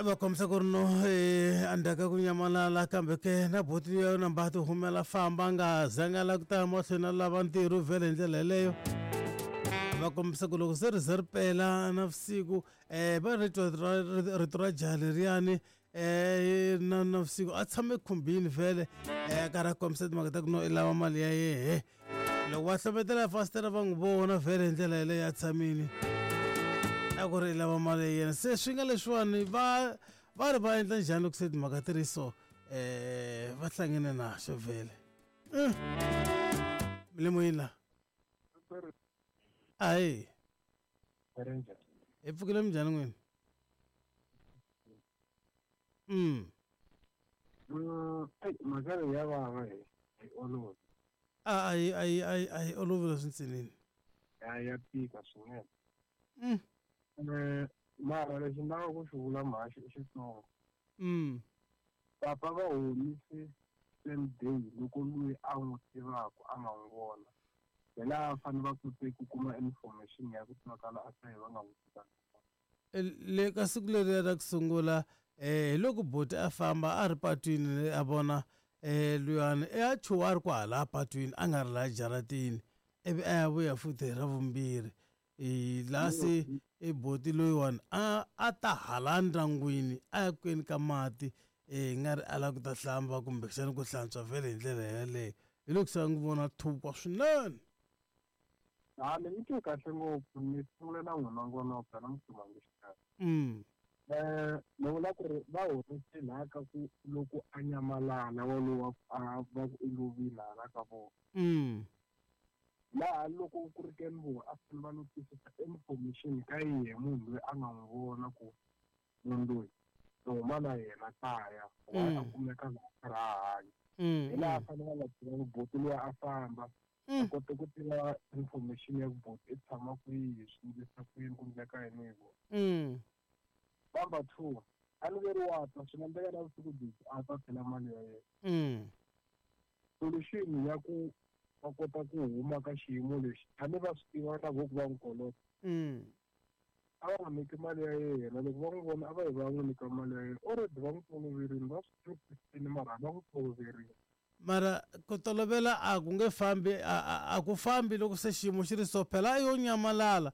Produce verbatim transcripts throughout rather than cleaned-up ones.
Va kombisa ku ri no endzhaku ka ku nyamalala kambe ke na boti ya namba ti humela famba nga zanga la ku ta mahlweni a lava ntirho vhele hi ndlela yeleyo. Va kombisa ku loko se ri ze ri pela navusiku um va rito ra rito ra jaha leriyani um na navusiku a tshame khumbini vhele um a karhi a kombisa timhaka ta ku no i lava mali ya yehe. Loko va hlometela fasitere va n'wi vona vhele hi ndlela yeleyo a tshamile a ku ri i lava mali ya yena. Se swi nga leswiwani va va ri va endla njhani loko se timhaka ti ri so um va hlangene naxo vhele. Mi le moyeni la? Ayi, hi pfukile minjhani n'wina? Mm. Mhaka leyi ya vava hi yi olovi. A a yi a yi a yi a yi olovi leswi ntsinini. Ya ya tika swinene. Mm. Eh, mara lexi ni lavaka ku xi vula mhaxi i xitsongo. Mm. Papa va homise same day loko loyi a n'wi tivaka a nga n'wi vona. Hi laha va fanele va kote ku kuma information ya ku twakala a sayi va nga n'wi tivanga. Le ka siku leriya ra ku sungula eh hi loko boti a famba a ri patwini a vona eh luyani i a chuha a ri kwahala patwini a nga ri laha jaratini ivi a ya vuya futhi hi ra vumbirhi i laha se i boti loyiwani a a ta hala ndyangwini a ya kweni ka mati eh nga ri a lava ku ta hlamba kumbexana ku hlantswa vhele hi ndlela yeleyo hi loko se a n'wi vona thukwa swinene. Ha ni mi twe kahle ngopfu ni sungule na n'wina ngonoko na mutsumangi xikarhi. Mm. Eh ni vula ku ri va horise laha ka ku loko a nyamalala walowa a va ku i lovile hala ka vona. Mm. Laha loko ku ri ke ni vona a fanele va notisisa information ka yehe munhu loyi a nga n'wi vona ku munhu loyi ni huma na yena kaya why a kumeka laha a karhi a hanya. Hi laha a fanele va nga tiva ku boti luya a famba a kote ku tiva information ya ku boti i tshama kwihi swi endlisa ku yini ku endleka yini hi vona. Mm. Number two, a ni veri wa ta swi nga endleka na vusiku byi a ta tlhela mali ya yena. Mm. Solution ya ku va kota ku huma ka xiyimo lexi a ni va swi tiva na vo ku va n'wi kolota. Mm. A va n'wi nyiki mali ya yena loko va n'wi vona a va yi va n'wi nyika mali ya yena already va n'wi toloverile va swi tiva mara va n'wi toloverile. Mara ku tolovela a ku nge fambi a a ku fambi loko se xiyimo xi ri so phela yo nyamalala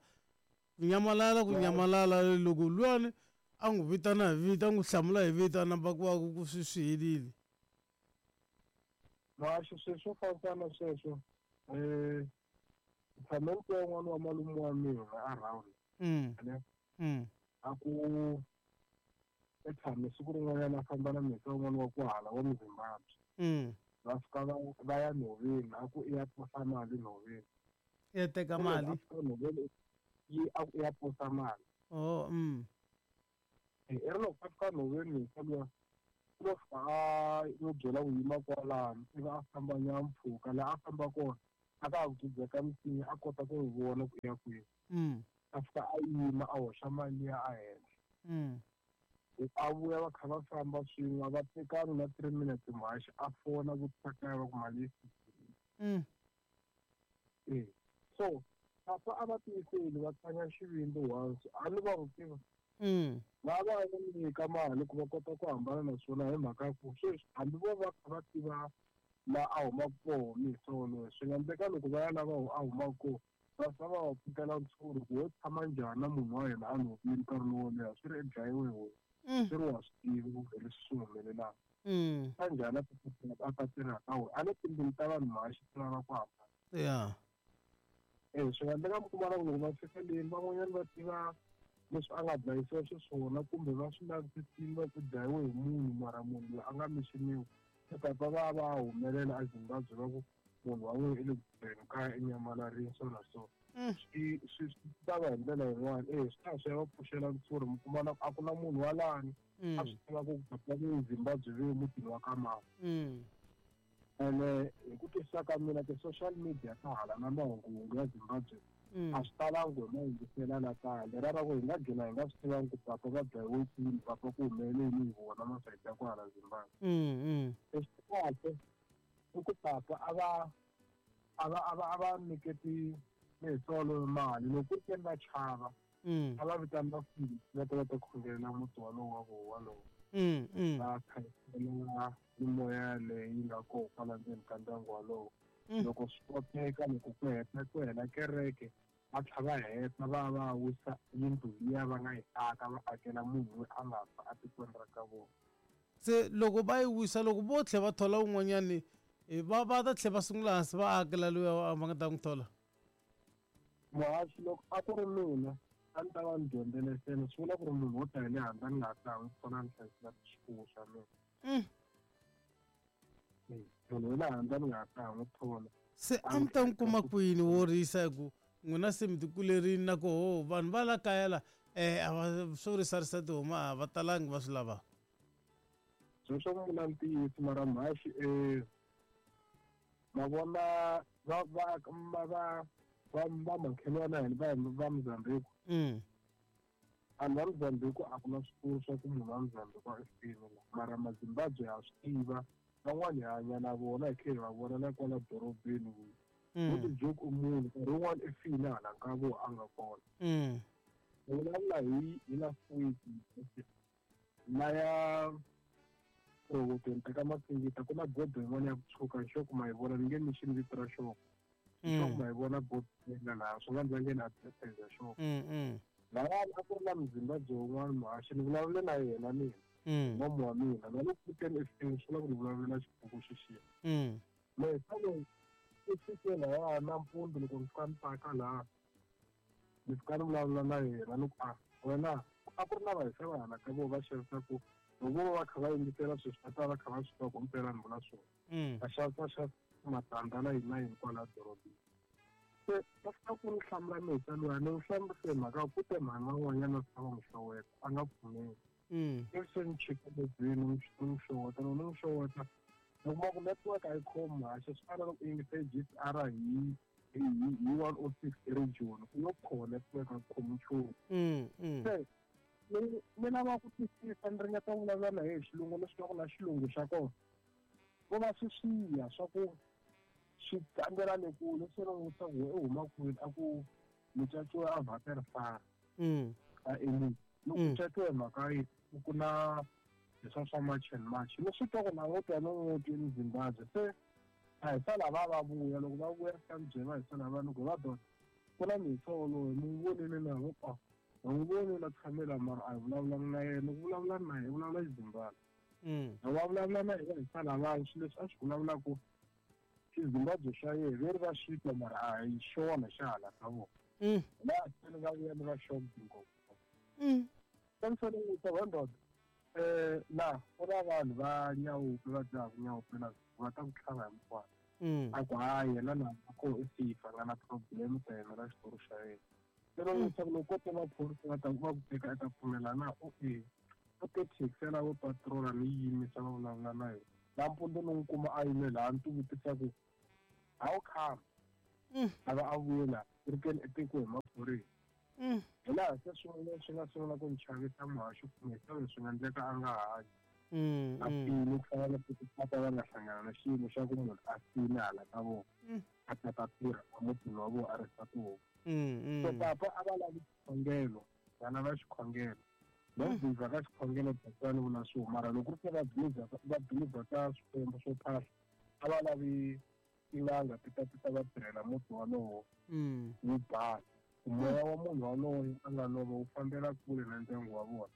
ku nyamalala ku nyamalala loko luyani a n'wi vitana hi vito a n'wi hlamula hi vito a namba ku va ku swi swi helile. Mhaxi swilo swo fambisana sweswo um tshame ni twa un'wana wa malume wa mina around Mm. ne Mm. a ku i tshame siku rin'wanyana a famba na mhisa un'wana wa ku hala wa muZimbabwe. Mm. Va fika va va ya nhoveni a ku i ya posa mali nhoveni. Ya teka mali. A fika nhoveni yi a ku i ya posa mali. Oh, mm. I ri loko a fika nhoveni mhisa luya u lo fika a yo byela ku yima kwalano ivi a famba nyana mpfhuka laha a famba kona a ka ha ku dzudzeka misinya a kota ku n'wi vona ku i ya kwihi. Mm. A fika a yima a hoxa mali liya a henhla. Mm. A vuya va kha va famba swin'we a va tekanga na three minutes mhaxi a fona vutisa kaya va ku mali yi fikile. Mm. E so papa a va tiyiseli va tlanga xivindzi once a ni va n'wi tiva. Mm. Va va n'wi nyika mali ku va kota ku hambana na swona hi mhaka ya ku sweswi hambi vo va kha va tiva laha a humaka kona mhisa wolowo swi nga endleka loko va ya lava a humaka kona va fika va va pfukela ntshuri ku wo tshama njhani na munhu wa hina a lovile nkarhi lowo leha swi ri i dlayiwe hi wena. Mm. Swi ri wa swi tiva ku leswi swi humelelaka. Mm. Ta njhani a ta a ta tirha ka wena a ni timbilu ta vanhu mhaxi ti lava ku hambana. Yeah. Eh swi nga endleka mi kuma na ku loko va fika leni van'wanyana va tiva leswi a nga dlayisiwa xiswona kumbe va swi lavisisile va ku dlayiwe hi munhu mara munhu loyi a nga mixiniwi se papa va va humelela eZimbabwe va ku munhu wa n'wina i le ku tirheni kaya i nyamalarile so na so. Mm. Swi swi swi ta va hi ndlela yin'wana e swi ta swi ya va pfuxela ntshuri mi kuma na a ku na munhu wa lani Mm. a swi tiva ku papa ve Zimbabwe ve mutini wa ka mani. Mm. Ene hi ku twisisa ka mina ti-social media ta hala na mahunguhungu ya Zimbabwe Mm. a swi talangi ku hi ma yingisela la kaya lera ra ku hi nga gcina hi nga swi tivangi ku papa va dlayiwe kwini papa ku humelele yini hi vona masayiti ya ku hala Zimbabwe. Mm. Mm. Lexi kahle i ku papa a va a va a va a va nyiketi mihisa waloyo mali loko ku ri ke ni va chava A va vitana vafundhisi va ta va ta khongelela muti walowo wa voho walowo. Va khayisela mimoya leyi nga kona kwala ndzeni ka ndyangu walowo. Loko swi koteka loko ku heta ku hela kereke va tlhela va heta va va wisa yindlu liya va nga yi aka va akela munhu loyi a nga fa etikweni ra ka vona. Se loko va yi wisa loko vo tlhela va thola un'wanyani va va ta tlhela va sungula hansi va akela luya va nga ta n'wi thola. Muhaxi loko a ku ri mina a ni ta va ni dyondzele sena swi vula ku ri munhu wo ta hi le handle ni nga ha ta n'wi pfuna ni hlayisela swifuwo swa mina. Munhu wa le handle ni nga ha ta n'wi thola. Se a mi ta n'wi kuma kwini wo risa hi ku n'wina se mi tikulerini na koho vanhu va la kaya la a va swo risarisa tihomu a va talangi va swi lavaka. Sweswo ku vula ntiyiso mara muhaxi ma vona va va va va va va makhelwana hina va va Mozambique. Vanhu va Mozambique a ku na switulu swa ku munhu wa Mozambique a fini la mara maZimbabwe ha swi tiva van'wani hi hanya na vona hi kha hi va vona na kwala dorobeni ku ti joke u munhu nkarhi wun'wani i fini hala ka vona a nga kona. Ni vulavula hi hi last week laya rhobotweni teka Masingita ku na bodo yin'wana ya ku tshuka xo kuma hi vona ni nge ni xini vito ra xona. Xo kuma hi vona bodo leyi laha swi nga ndzi nge na advertise xona. Lahayani a ku ri na Muzimbabwe wun'wana muhaxi ni vulavule na yena mina nomu wa mina na loko ku teni efini swi vula ku ni vulavule na xibuku xexiya. Mehe loyi i fike lahaya nampundzu loko ni fika ni paka laha ni fika ni vulavula na yena ni ku a wena a ku ri na vahisa va hala ka vona va xavisaku loko vo va kha va yingisela sweswi va ta va kha va swi tiva ku mpela ni vula swona. Va xavisa xavisa matandza na yini na yini kwala dorobeni. Se va fika ku ni hlamula mihisa luya ni n'wi hlamusele mhaka ku te mhani van'wanyana va fika va n'wi xeweta a nga pfumeli. Ivi se ni chika movheni ni n'wi xeweta loko ni n'wi xeweta ni kuma ku network a yi khomi muhaxi swi fana na loko u yingise G C R hi hi hi one oh six eRejoni ku yo khoha network a yi khomi nchumu. Se ni ni lava ku twisisa ni ringeta ku vulavula na yena hi xilungu ni swi tiva ku na xilungu xa kona ko va swi swiya swa ku swi tlangela le kule se ni n'wi vutisa ku u huma kwini a ku ni caciwe a Waterfall a Elim loko ku caciwe mhaka yi ku na leswa swa March and March ni swi twa ku na n'wi twa ni n'wi twi Zimbabwe se a hi sala va va vuya loko va vuya fika ni byela hi sala va ni ku va dona ku na mihisa wolowo ni n'wi vonile na vo a n'wi vonile a tshamela mara a hi vulavulanga na yena ku vulavula na yena vulavula Xizimbabwe loko va vulavula na yena hi sala vanhu swilo leswi a swi vulavulaka Xizimbabwe xa yena ve ri va swi twa mara a hi xona xa hala ka vona laha se ni nga vuya ni va shocked ngopfu. Se ni fanele ni vutisa va ndoda laha ku na vanhu va nyawupe va dzahaku nyawupe la va ta ku tlhava hi mukwana a ku hayi yena laha a koho i safe a nga na problem ta yena na xitori xa yena. Se ni n'wi vutisa ku loko ko ta maphorisa va ta va ku teka i ta pfumela na u e u te taxi ya lavo patrola ni yimisa va vulavula na yena nampundzu ni n'wi kuma a yime laha ni ti vutisa ku how come a va a vuye laha ku ri keni i tekiwe hi maphorisa. Hi laha se swin'wana swi nga sungula ku ni chavisa muhaxi kumbe se swi nga endleka a nga hanyi a file ku fana na papa va nga hlangana na xiyimo xa ku munhu a file hala ka vona a ta ta tirha emutini wa vona a risa tihomu. So papa a va lavi xikhongelo va lava xikhongelo va believer ka xikhongelo ni vula swona mara loko ku ri se va believer va believer ka swikwembu swo phahla a va lavi tin'anga ti ta ti ta va tirhela muti walowo wu basa moya wa munhu waloye a nga lova wu fambela kule na ndyangu wa vona.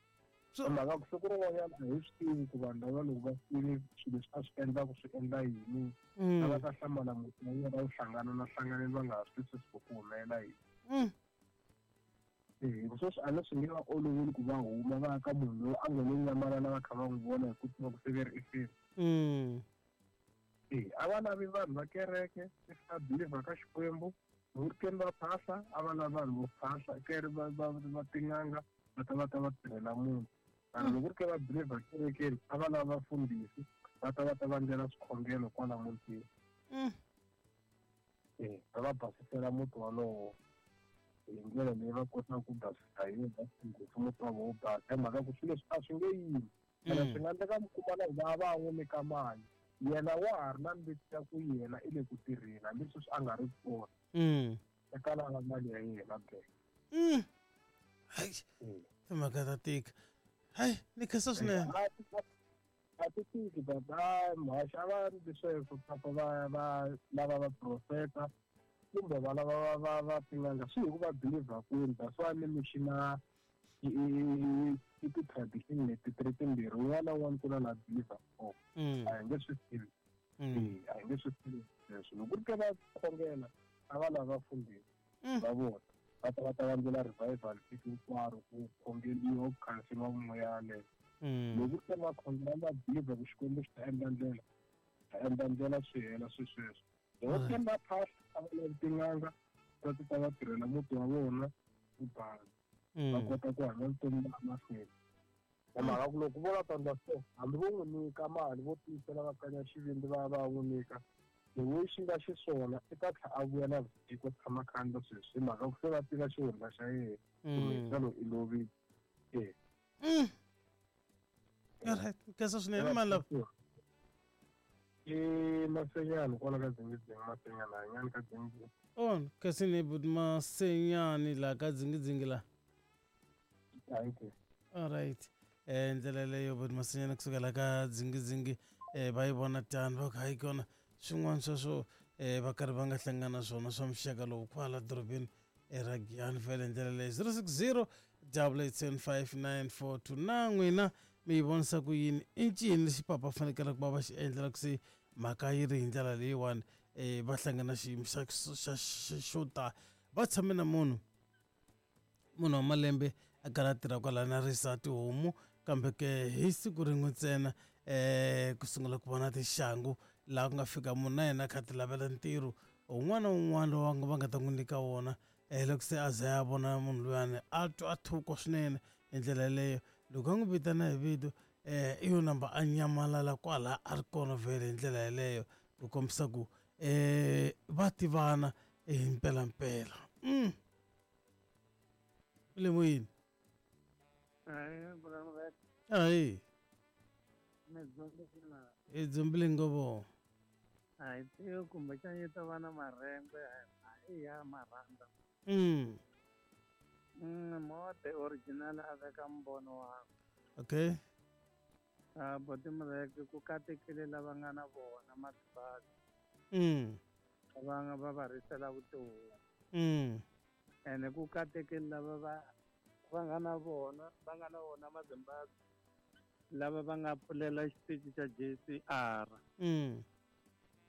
Mhaka ku siku rin'wanyana a hi swi tivi ku vanhu lava loko va file swilo leswi a swi endlaku swi endla yini a va ta hlamala muti wa vona wu hlangana na hlanganeni va nga ha swi twisisi ku ku humelela yini. Hi sweswi a ni swi nge va oloveli ku va huma va ya ka munhu loyi a nga lo nyamalala va kha va n'wi vona hi ku tiva ku se ve ri i file. A va lavi vanhu va kereke va believer ka Xikwembu loko ri keni va phahla a va lavi vanhu vo phahla kere va va va tin'anga va ta va ta va tirhela munhu mara loko ri ke va believer kerekeni a va lava vafundhisi va ta va ta va ndlela swikhongelo kwala mutini va va basisela muti walowo hi ndlela leyi va kotaka ku basisa hi yona ngopfu muti wa vona wu basa hi mhaka ku swilo leswi a swi nge yimi ene swi nga endleka mi kuma na va va n'wi nyika mali yena wa ha ri na mbitsi ya ku yena i le ku tirheni hambi sweswi a nga ri kona eka lava mali ya yena be. Hayi, timhaka ta tika. Hayi, ni khensa swinene. A ti tiki baba, muhaxi a va ndli sweswo papa va va lava va profeta kumbe va lava va va va tin'anga swi hi ku va believer kwini. That's why ni mi xina i i ti-tradition leti ti ri timbirhi, un'wana na un'wana ku na la believer kona. A hi nge swi tivi, a hi nge swi tivi sweswo. Loko ku ri ke va khongela a va lava vafundhisi va vona va ta va ta va endlela revival siku hinkwaro ku khongeliwa ku khanseliwa moya yaleyo. Loko ku ri ke va khongela va believer ku Xikwembu xi ta endla ndlela, ta endla ndlela swi hela swi sweswo. Loko ku ri va phahla a va lavi tin'anga va ti ta va tirhela muti wa vona ku basa va kota ku hanya vutomi laha mahlweni. Hi mhaka ku loko vo la ta endla so hambi vo n'wi nyika mali vo tiyisela va kanya xivindzi va va n'wi nyika the way xi nga xiswona i ta tlhela a vuya na vusiku tshama kha endla sweswi hi mhaka ku se va tiva xihundla xa yena kumbe xana i lovile. E alright, khensa swinene mali lava. I Masenyani kwala ka Dzingidzingi, Masenyani hanyani ka Dzingidzingi. Oh, kasi ni buti Masenyani la ka Dzingidzingi la. Thank you. Alright. Eh ndlela leyo buti Masenyani kusukela ka Dzingidzingi eh va yi vona tani va ku hayi kona swin'wana sweswo eh va karhi va nga hlangana swona swa muxaka lowu kwala dorobeni ra Giyani vhele ndlela leyo zero six zero double eight seven five nine four two na n'wina mi yi vonisa ku yini i ncini lexi papa fanekele ku va va xi endlela ku se mhaka yi ri hi ndlela leyiwani um va hlangana xiyimo xa xa xo ta va tshame na munhu munhu wa malembe a karhi a tirha kwalaya na risa tihomu kambe ke hi siku rin'we ntsena um ku sungula ku vona tinxangu laha ku nga fika munhu na yena a kha a ti lavela ntirho un'wana na un'wana lowu va nga ta n'wi nyika wona um loko se a za ya vona munhu luyani a twa a thukwa swinene hi ndlela yeleyo. Loko a n'wi vitana hi vito um i yo namba a nyamalala kwala a ri kona vhele hi ndlela yeleyo ku kombisa ku um va tivana hi mpelampela. Mm. Le moyeni. Ayi. I dzumbile ngovo. A hi tivi kumbexana yi ta va na marhengwe i ya marhanda. Mm. Mm, mo the original a veka mbono wakwe. Okay. Ah, boti Mureke ku katekile lava nga na vona matibadi. Mm. Va nga va va risela vutomi. Mm. Ene ku katekile lava va va nga na vona, va nga na vona Mazimbabwe lava va nga pfulela xitichi xa J C R. Mm.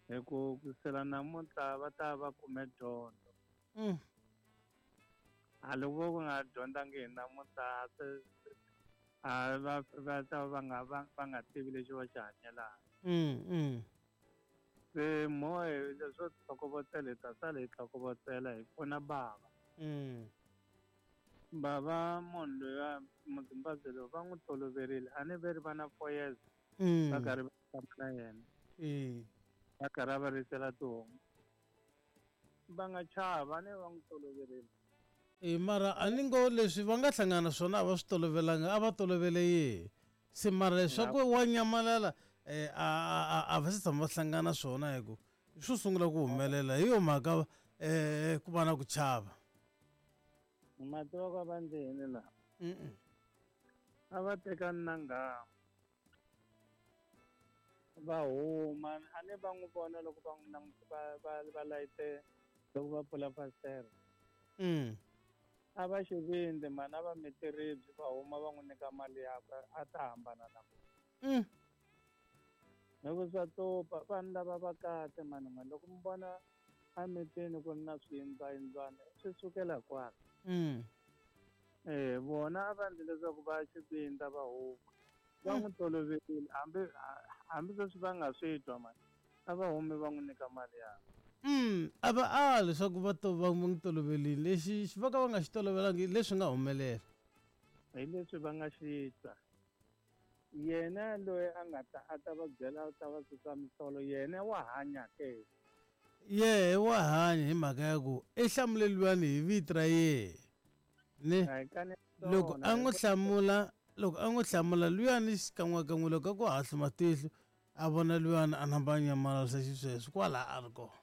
Hi ku kusela namuntlha va ta va kume dyondzo. Mm. A loko vo nga dyondzangi hi namuntlha se a va va ta va nga va va nga tivi lexi va xi hanyelaka. Mm, mm. Se mo leswo tlhokovetsela hi ta sala hi tlhokovetsela hi pfuna bava. Mm. Bava munhu loyi a Muzimbabwe loyi va n'wi toloverile a ni ve ri va na four years Mm. va karhi va tshama na yena. Eh. Va karhi va risela tihomu. Va nga chava a ni va n'wi toloverile. E mara a ni ngo leswi va nga hlangana swona a va swi tolovelanga a va tolovele yihi se mara leswaku wa nyamalala um a a a va se tshama va hlangana swona hi ku swo sungula ku humelela hi yo mhaka um ku va na ku chava. Ma tiva ku va ndzi yini laha? Mm. A va tekani na nghamu va huma a ni va n'wi vona loko va n'wi languta va va va layite loko va pfula fasitere. Mm. A va xivindzi mani a va miti ribye va huma va n'wi nyika mali yakwe a ta hambana na vona. Mm. Loko swa topa vanhu lava va kahle mani n'we loko mi vona emitini ku ri na swiyindlwayindlwana swi sukela kwala. Mm. Eh vona a va endli leswaku va xivindza va huma va n'wi toloverile hambi hambi sweswi va nga swi twa mani a va humi va n'wi nyika mali yakwe. Mm, a va a leswaku va to va n'wi toloverile lexi xi va ka va nga xi tolovelangi leswi nga humelela. Hi leswi va nga xi twa. Yena loyi a nga ta a ta va byela a ta va susa misolo yena wa hanya ke. Yehe wa hanya hi mhaka ya ku i hlamule luyani hi vito ra yehe. Ne loko a n'wi hlamula loko a n'wi hlamula luyani xikan'wekan'we loko a ku hahlu matihlo a vona luyani a namba a nyamalarisa xisweswo kwala a ri kona.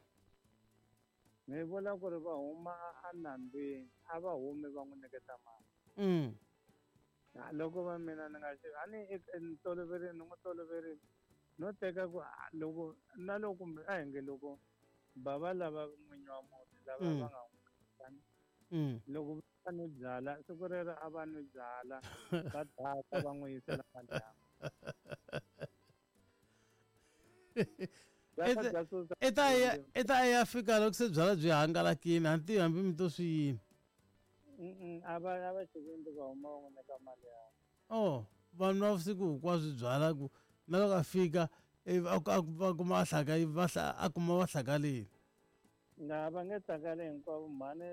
Ni vula ku ri va huma a nambini a va humi va n'wi nyiketa mali. Mm. Loko va mina ni nga xi a ni ni toloverile ni n'wi toloverile no teka ku loko na loko kumbe a hi nge loko bava lava n'winyi wa muti lava va nga n'wi loko va nwi byala siku rero a va nwi byala va daka va n'wi yisela mali yakwe. I ta ya i ta ya fika loko se byala byi hangalakile a ni tivi hambi mi to swi yini. A va a va xivindzi va huma va n'wi nyika mali yakwe. Oh vanhu va vusiku hinkwaswo byala ku na loko a fika va kuma a hlaka va a kuma va hlakalile. Nga va nge hlakali hinkwavo mhani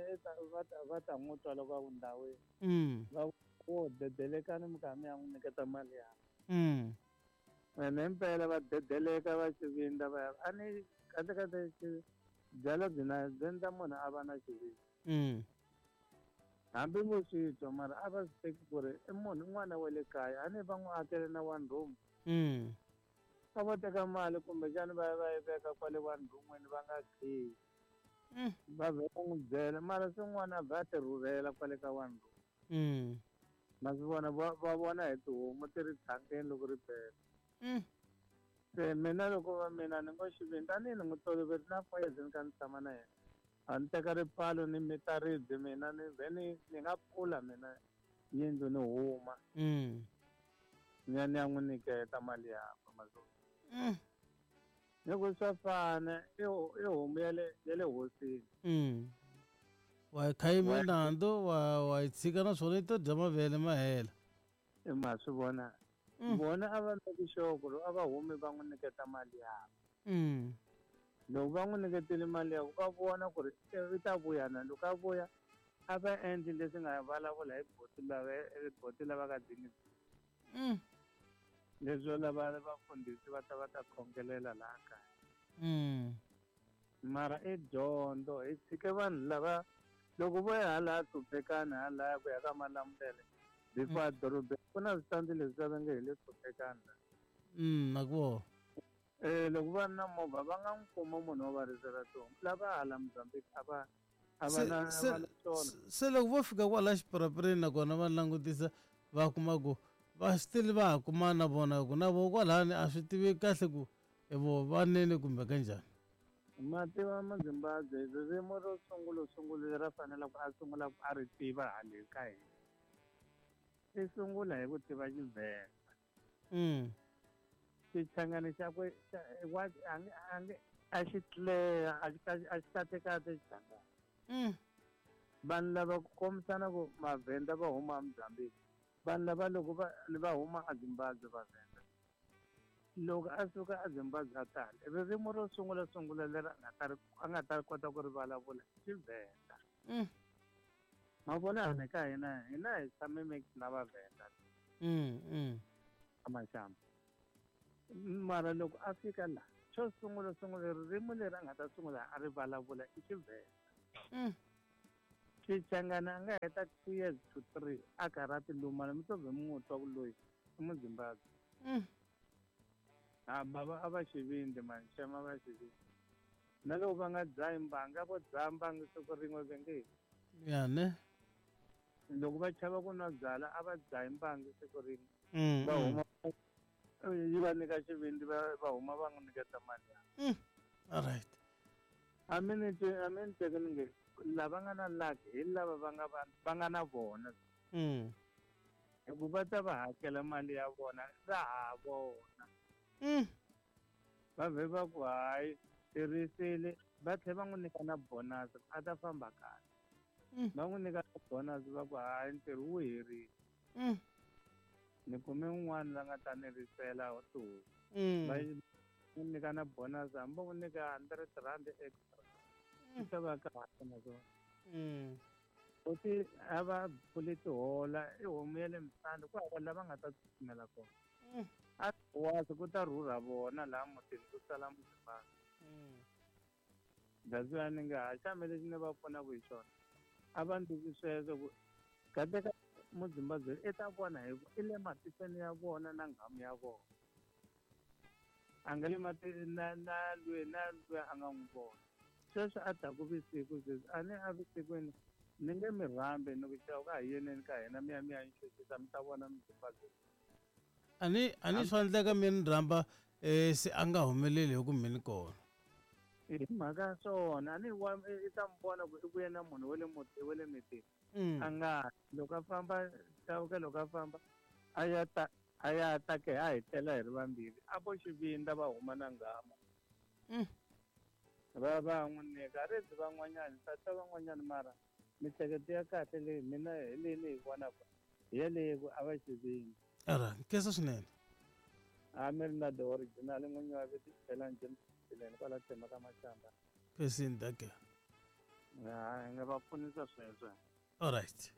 va ta va ta n'wi twa loko a ku ndhawini. Va wo dedelekani mi kha mi ya n'wi nyiketa mali yakwe. Ene impela va dedeleka va xivindza va ya a ni kahle kahle byala byi na byi endla munhu a va na xivindzi. Hambi vo swi twa mara a va swi teki ku ri i munhu un'wana wa le kaya a ni va n'wi akele na one room. A vo teka mali kumbexana va ya va yi veka kwale one room-ini va nga khiyi. Va vhe va n'wi byela mara swin'wana a vhe a ti rhurhela kwale ka one room. Ma swi vona va va vona hi tihomu ti ri tshangeni loko ri pela. Se mina loko va mina ni ngo xivindzi tanihi ni n'wi toloverile na four years ni kha ni tshama na yena. A ni teka ripfalo ni mita ribye mina ni vhe ni ni nga pfula mina yindlu ni huma. Ni ya ni ya n'wi nyiketa mali yakwe mazulu. Ni ku swa fana i i homu ya le ya le hosini. Wa yi khayima nandzu wa wa yi tshika naswona yi to dya mavele ma hela. I ma swi vona. Vona a va meki sure ku ri a va humi va n'wi nyiketa mali yakwe. Loko va n'wi nyiketile mali yakwe va vona ku ri i ta vuya na loko a vuya a va endli leswi nga vulavula hi boti lava boti lava ka dingisi. Leswo lava vafundhisi va ta va ta khongelela laha kaya. Mara i dyondzo hi tshike vanhu lava loko vo ya hala Hlupekani halaya ku ya ka Malamulele before dorobeni ku na switandi leswi va nge hi le Hlupekani la. Na ku vona. Eh loko va ri na movha va nga n'wi kuma munhu wo va risela tihomu lava hala Mozambique a va a va na Se se loko vo fika kwala xipurapureni nakona va langutisa va kuma ku va still va ha kuma na vona ku na vo kwalani a swi tivi kahle ku i vo vanene kumbe kanjhani. Ma tiva Mazimbabwe ririmi ro sungula sungula leri a faneleke a sungula ku a ri tiva hale ka hina i sungula hi ku tiva Xivhenda. Xichangani xakwe wa a nge a nge a xi clear a xi a xi kahle Xichangani. Vanhu lava ku kombisana ku Mavhenda va huma eMozambique vanhu lava loko va va huma eZimbabwe Vavhenda loko a suka eZimbabwe a tala ririmi ro sungula sungula leri a nga ta ri a nga ta kota ku ri vulavula i Xivhenda. Ma vona hina ka hina hina hi tshame mix na Vavhenda. Maxamba mara loko a fika la xo sungula sungula ririmi leri a nga ta sungula a ri vulavula i Xivhenda. Xichangani a nga heta two years to three a karhi a ti lumana mi to vhe mi n'wi twa ku loyi i Muzimbabwe. A bava a va xivindzi mani xem a va xivindzi na loko va nga dzahi mbanga vo dzaha mbangi siku rin'we ve nge ya ne loko va chava ku nwa byala a va dzahi mbangi siku rin'we va huma yi va nyika xivindzi va va huma va n'wi nyiketa mali ya. All right. A mi ni a mi ni teki ni nge lava nga na luck hi lava va nga va va nga na vona. Hi ku va ta va hakela mali ya vona ra ha vona. Va vhe va ku hayi tirhisile va tlhela va n'wi nyika na bonus a ta famba kahle. Va n'wi nyika na bonus va ku hayi ntirho wu herile. Ni kume un'wana la nga ta ni risela tihomu. Va n'wi nyika na bonus hambi va n'wi nyika hundred rand extra. Swi ta va kahle naswona. Futhi a va pfuli tihola i homu ya le Msanda ku hava lava nga ta tsutsumela kona. A wasi ku ta rhurha vona laha mutini ku sala Muzimbabwe. That's why ni nga ha xame lexi ni va pfunaka hi xona a va ndlisi sweswo ku kahle ka Muzimbabwe i ta vona hi ku i le matikweni ya vona na nghamu ya vona. A nga le mati na na lweyi na lweyi a nga n'wi vona. Sweswi a ta ku vusiku sweswi a ni a vusikwini Ni nge mi rhambi ni ku xava ka hi yeneni ka hina mi ya mi ya ni chuchisa mi ta vona mi a ni a ni swa endleka mi ni rhamba um se a nga humeleli hi ku mi ni kona. Hi mhaka ya swona a ni wa i ta mi vona ku i vuye na munhu wa le muti wa le mitini. A nga loko a famba Chauke loko a famba a ya ta a ya ta ke a hi tlela hi ri vambirhi a vo xivindza va huma na nghamu. Va va n'wi nyika a ri van'wanyana tata van'wanyana mara mihleketo ya kahle leyi mina hi leyi ni yi vonaka hi yaleyo ku a va xivindza. Ara nkhensa swinene. A mi ri na the original n'winyi wa vito xibelani njhe kwala tsema ka Mashamba. Khensini dake. Ha nga va pfunisa sweswo. All right.